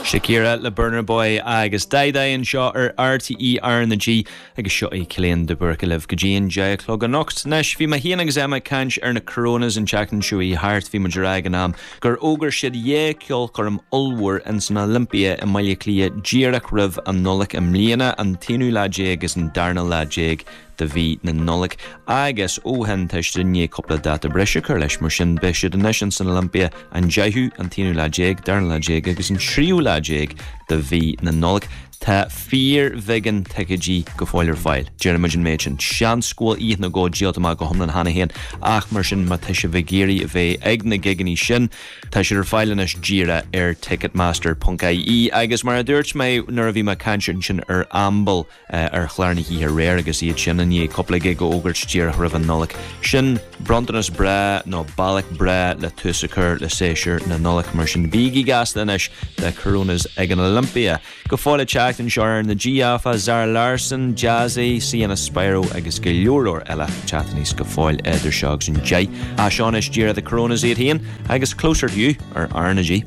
Shakira le Burna Boy agus Dai Dai anseo ar RTÉ R na G agus seo é Cillian de Búrca libh go dtí an 10 a chlog anocht. Anois, bhí mé féin agus Emma ag caint ar na Coronas an tseachtain seo chuaigh thart, bhí muid ag rá ag an am gur fhógair siad dhá cheolchoirm ollmhór ins an Olympia i mBaile Átha Cliath díreach roimh an Nollaig i mbliana, an t-aonú lá déag agus an darna lá déag de mhí na Nollag agus ó shin tá siad i ndiaidh cúpla dáta breise a chur leis, mar sin beidh siad anois ins an Olympia an 10ú, an t-aonú lá déag, darna lá déag agus an tríú lá déag de mhí na Nollag. Tá fíorbheagán ticéidí go fóill ar fáil, déarfaimid an méid sin. Seans go bhfuil oíche nó dhó díolta amach go hiomlán cheana féin ach mar sin má tá sibh ag iarraidh a bheith ag na gigeannaí sin, tá siad ar fáil anois díreach ar ticketmaster.ie agus mar a dúirt mé nuair a bhí mé ag caint ansin ar Amble, ar chlár na hoíche aréir agus iad sin i ndiaidh cúpla gig a fhógairt díreach roimh an Nollaig. Sin bronntanas breá nó bealach breá le tús a chur le séasúr na Nollag. Mar sin bígí gasta anois The Coronas ag an Olympia. Go fóill ag teacht anseo ar R na G áfach, Zara Larsson, Jazzy, Sienna Spiro agus go leor leor eile ag teacht aníos go fóill idir seo agus an 10. Ach seo anois díreach The Coronas iad féin agus Closer to You ar R na G.